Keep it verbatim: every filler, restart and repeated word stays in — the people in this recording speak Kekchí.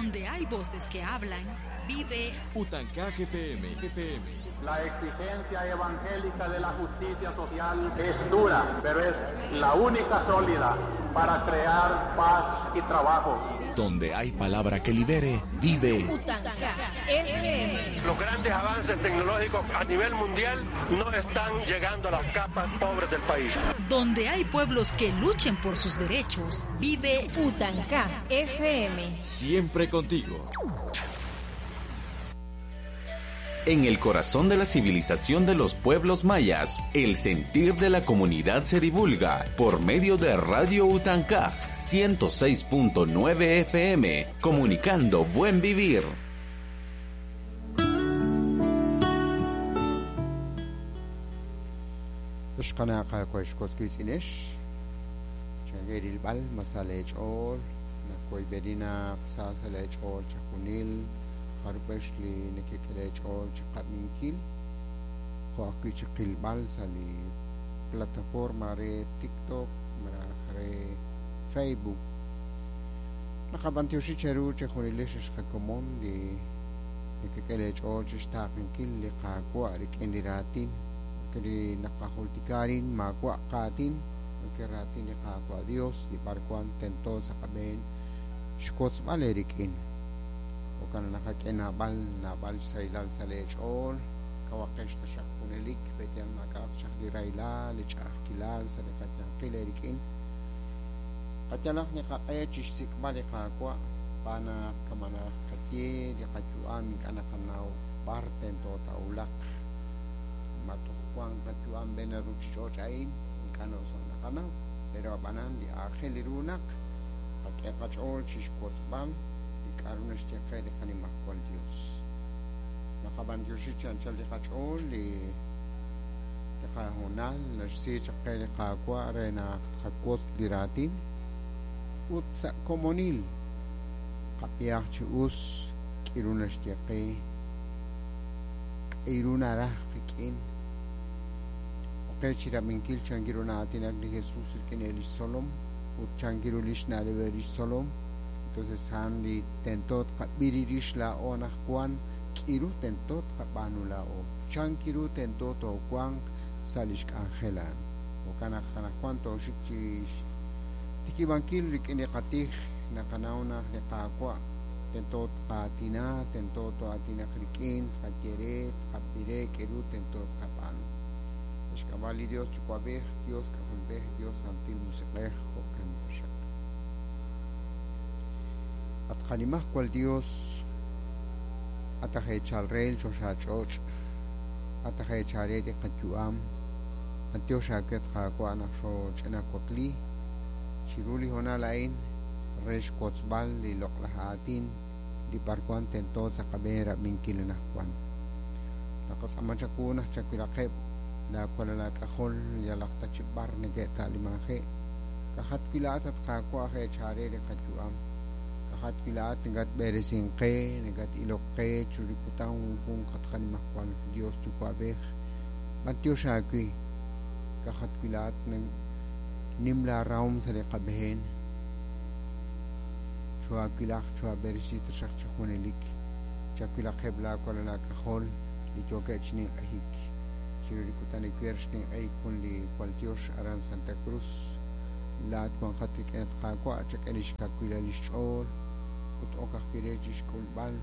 Donde hay voces que hablan, vive Utancaj F M, F M. La exigencia evangélica de la justicia social es dura, pero es la única sólida para crear paz y trabajo. Donde hay palabra que libere, vive Utancaj F M. Los grandes avances tecnológicos a nivel mundial no están llegando a las capas pobres del país. Donde hay pueblos que luchen por sus derechos, vive Utancaj F M. Siempre contigo. En el corazón de la civilización de los pueblos mayas, el sentir de la comunidad se divulga por medio de Radio Utancaj ciento seis punto nueve F M, comunicando buen vivir. Jarbex li nekek'elech'ool chiqab'inkil jo' ajwi' chiqilb'al sa' li plataforma re TikTok malaj re Facebook. Naqab'antioxi cheru chejunilix xqakomon li nekek'elech'ool chixtaaqinkil li qaawa' rik'in li raatin li naqajultikarin maawa' qaatin ke raatin li qaawa' Dios li b'arwan tento sa' qab'een xkotzb'al erik'in. Kana naqak'e nab'al nab'al saylal salech'ool kawaqex taxaq junelik beyan mak'at xaq li raylal li ch'a'ajkilal sa' li qayanqil erik'in qatyalaj li qaq'e chixsik'b'al li qaawa' b'anaq kamanaj qatye li qayu'am ink'a' naqanaw b'ar tento ta'ulaq matuj wan qayu'am b'en ruchich'och' a'in ink'a' noso' naqanaw pero ab'anan li aajel li runaq qak'e qach'ool chixkotzb'al k'aru naxye qe li qanimajwal Dios. Naqab'antioxi chi anchal li qach'ool li li qahonal naxsi chaq qe li qaawa' re naq tqakotz li raatin ut sa' komonil qab'iyaj chi us k'iru naxye qe k'iru naraj qik'in oqe chirab'inkil chankiru na'aatinak li Jesús rik'in li xtzolom ut chankiru li xna'leb' li xtzolom. Entonces han li tentot qab'irirish la'o anajwan k'iru tentot qab'anu la'o chankiru tentot owanq sa' lix k'anjelan jo'kan naq anajwan toxik chix tikibankil rik'in li qatij naqanaw naq li qaawa' tentot qaatina tentot aatinaq rik'in qayere qab'ire k'iru tentot qab'anu xk'ab'a' li Dios Yuwa'b'ej Dios K'ajolb'ej Dios Santil Musiq'ej jo'kan taxaq. Atqanimajwal Dios atajechalrel choxach'och' atajechare li qayu'am antiox aket qaawa' naq xoch'inawakli chiru li honal a'in re xkotzb'al li loq'laj aatin li b'arwan tento sa' qab'een rab'inkil anajwan naqatz'aman chaku naq chawilaqeb' laawalal laak'ajol yalaq ta chi b'ar neke'ta'limaje' kajat wila'at atqaawa' jechare li qayu'am kajat wila'at nekat b'eresinqe nekat iloqe churikutan junjun qatqanimajwal Dios Yuwa'b'ej b'antiox aawi kajat wila'at nim laarahom sa' li qab'een chuaawilaj chuab'eresi taxaq chi junelik chawilaqeb' laawalal laak'ajol li yookeb' chininq'ejik chirurikutan iwer xninq'ejik jun li waltiox aran Santa Cruz laat wanqat rik'in atqaawa' chak'e li xkawilal li xch'ool ut ok ajwi' re chixk'ulb'al